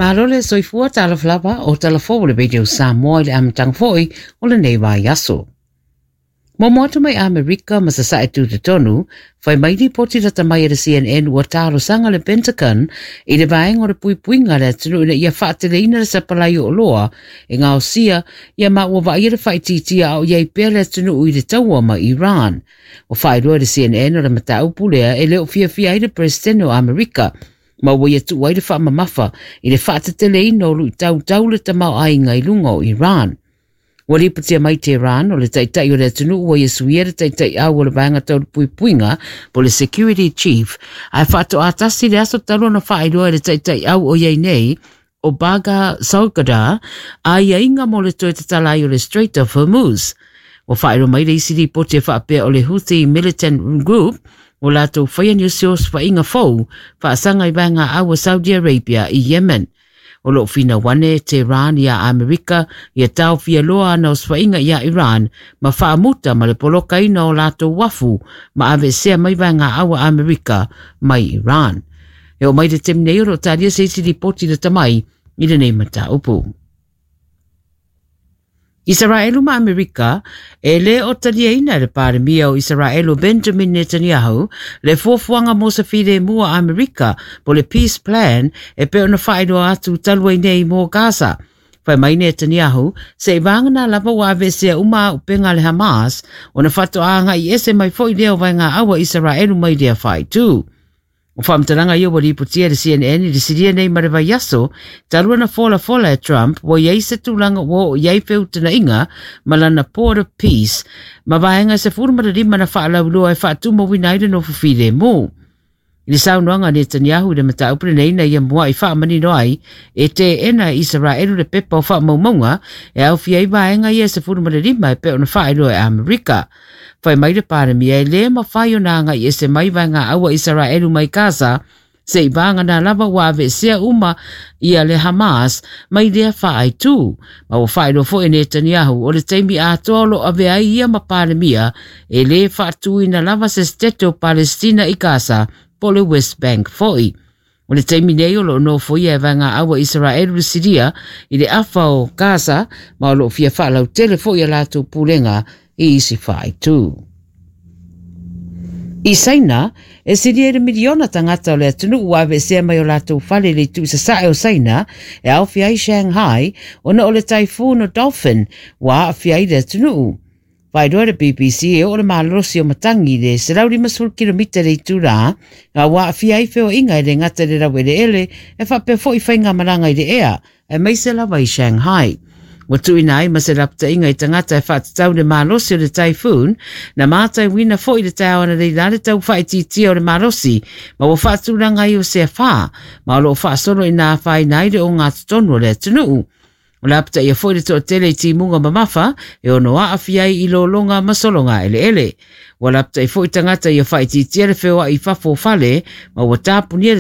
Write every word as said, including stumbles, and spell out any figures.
Malo le soifua talofa lava o talafou o le Radio Samoa i le amataga foi o lenei vaiaso. Muamua atu mai Amerika ma Sasae Tutotonu, fai mai lipoti lata mai e le C N N ua talosaga le Pentagon i le vaega o le puipuiga a le atunuu ina ia faateleina le sapalai o oloa e gaosia ia ma ua vaaia le faaitiitia a o i ai pea le atunuu i le taua ma Iran. Ua faailoa e le C N N o le mataupu lea e le o fiafia ai le Peresetene o Amerika ma ua ia tuu ai le faamamafa i le faateteleina o luitau tau le tamaoaiga i luga o Iran. Ua lipotia mai Tehran o le taitai o le atunuu ua ia suia le taitai au o le vaega tau le puipuiga po le security chief, ae faatoa tasi le aso talu ona faailoa e le taitai au o iai nei o Bagher Zolghadr aiaiga mo le toe tatala ai o le Strait of Hormuz. Ua faailoa mai le isi lipoti e faapea o le Houthi Militant Group o latou faia nisi o osofaiga fou faasaga i vaega au a Saudi Arabia i Yemen. O loo finau ane Tehran ia Amerika ia taofia loa ana osofaiga ia Iran ma faamuta ma le polokaina o latou uafu ma aveesea mai vaega au a Amerika mai Iran. E oo mai le taimi nei o loo talia se isi lipoti lata mai i lenei mataupu. Isaraelu ma Amerika, e le o taliaina e le Palemia o Isaraelu Benjamin Netanyahu le fuafuaga mo se filemu a Amerika po le Peace Plan e pei ona faailoa atu talu ai nei mo Gaza. Fai mai Netanyahu, seiavagana lava ua aveesea uma auupega a le Hamas, ona faatoa agai ese mai foi lea o vaega au a Isaraelu mai lea faaitu. O faamatalaga ia ua lipotia e le C N N i le silia nei ma le vaiaso talu ona folafola e Trump ua i ai se tulaga ua oo i ai feutagaiga ma lana Board of Peace ma vaega sefulu ma le lima na faalauiloa e faatumauina ai le nofo filemu. I le saunoaga a Netanyahu i le mataupu lenei na ia muai faamanino ai e teena e Isaraelu le pepa o faamaumauga e aofia ai vaega ia sefulu ma le lima e pei ona faailoa e Amerika. Fai mai le Palemia e le mafai ona agai ese mai vaega au a Isaraelu mai Gaza seiavagana lava ua aveesea uma ia le Hamas mai lea faaitu. Ma ua faailoa foi e Netanyahu o le taimi atoa o loo avea ai ia ma Palemia e le faatuina lava se setete o Palestina i Gaza po le West Bank foi. O le taimi nei o loo nofoia e vaega au a Isaraelu le Siria i le afa o Gaza ma o loo fia faalautele foi a latou pulega i isi faaitu. I Saina, e silia i le miliona tagata o le atunuu ua aveesea mai o latou fale i le itu sasae o Saina e aofia ai Shanghai ona o le typhoon o Dolphin ua aafia ai le atunuu. Faailoa le B B C e oo le malolosi o matagi i le selau limasefulu kilomita le itulā a ua aafia ai feoaiga e le gata i le laueleele e faapea foi faigamalaga i le ea aemaise lava i Shanghai. Ua tuuina ai ma se lapataiga i tagata e faatatau le malosi o le typhoon na matauina foi le taeao analeila le tau faaitiitia o le malosi ma ua faatulaga ai o se afa ma o loo faasolo ina afaina ai le ogatotonu o le atunuu. O le lapataia foi le toatele i timuga mamafa e ono aafia ai i lologa ma sologa eleele. Ua lapatai foi tagata ia faaitiitia le feoai i fafo o fale ma ua tapunia le